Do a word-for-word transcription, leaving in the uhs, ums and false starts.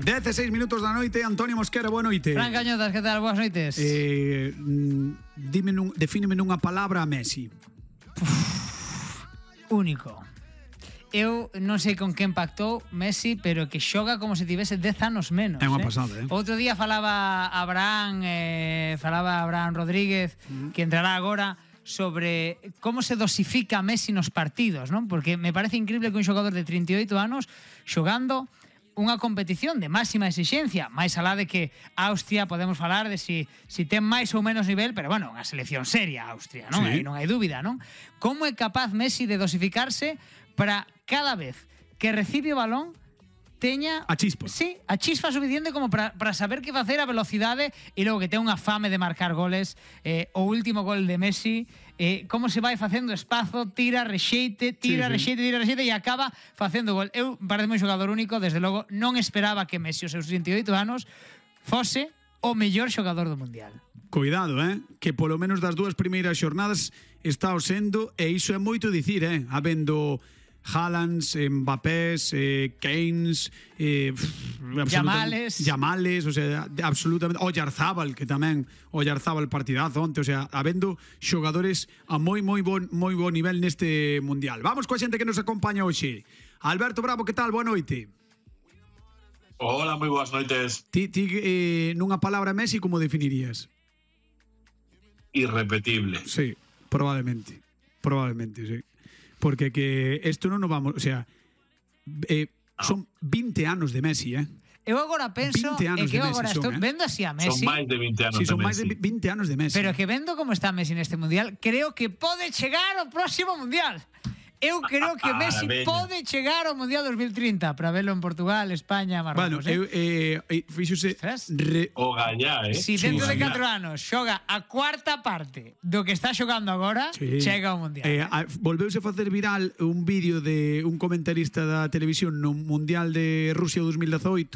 dezasseis minutos da noite, Antonio Mosquera, boa noite. Fran Cañotas, que tal? Boas noites. Eh, dime nun, defíneme nunha palabra a Messi. Único. Eu non sei con que impactou Messi, pero que xoga como se tivese dez anos menos. É unha eh? pasada, eh? Outro día falaba Abraham, eh, falaba Abraham Rodríguez, uh -huh. que entrará agora, sobre como se dosifica Messi nos partidos, non? Porque me parece increíble que un xogador de trinta e oito anos xogando unha competición de máxima exixencia, máis alá de que Austria podemos falar de si, si ten máis ou menos nivel, pero bueno, unha selección seria Austria, non? Sí. Aí non hai dúbida, non? Como é capaz Messi de dosificarse para cada vez que recibe o balón teña a chispa. Sí, a chispa suficiente como para, para saber que facer a velocidade e logo que ten unha fame de marcar goles. Eh, o último gol de Messi, eh, como se vai facendo espazo, tira, rexeite, tira, sí, rexeite, sí. tira, rexeite e acaba facendo gol. Eu parece un xogador único, desde logo non esperaba que Messi, os seus trinta e oito anos, fose o mellor xogador do Mundial. Cuidado, eh, que polo menos das dúas primeiras xornadas está o sendo, e iso é moito dicir, eh, habendo Haalands, Mbappés, eh, Keynes, eh, Yamales, Yamales, o sea, absolutamente, Oyarzábal, que tamén Oyarzábal partidazo onte, o sea, habendo xogadores a moi moi bon moi bon nivel neste mundial. Vamos coa xente que nos acompaña hoxe. Alberto Bravo, que tal? Boa noite. Hola, moi boas noites. Ti, ti eh, nunha palabra Messi, como definirías? Irrepetible. Sí, probablemente. Probablemente, sí. Porque que isto non nos vamos, o sea, eh, son vinte anos de Messi, eh. Eu agora penso que eu agora son, estou eh? vendo así a Messi. Son máis de vinte anos sí, son de máis de Messi. vinte anos de Messi. Pero que vendo como está Messi neste mundial, creo que pode chegar ao próximo mundial. Eu creo que Messi ah, pode chegar ao Mundial dos mil trinta para verlo en Portugal, España, Marrocos. Bueno, eu, eh, eh, fíxose re... o gallá, eh? Si dentro de catro anos xoga a cuarta parte do que está xogando agora, sí. chega ao Mundial. Eh, a, volveuse a facer viral un vídeo de un comentarista da televisión no Mundial de Rusia dos mil dezaoito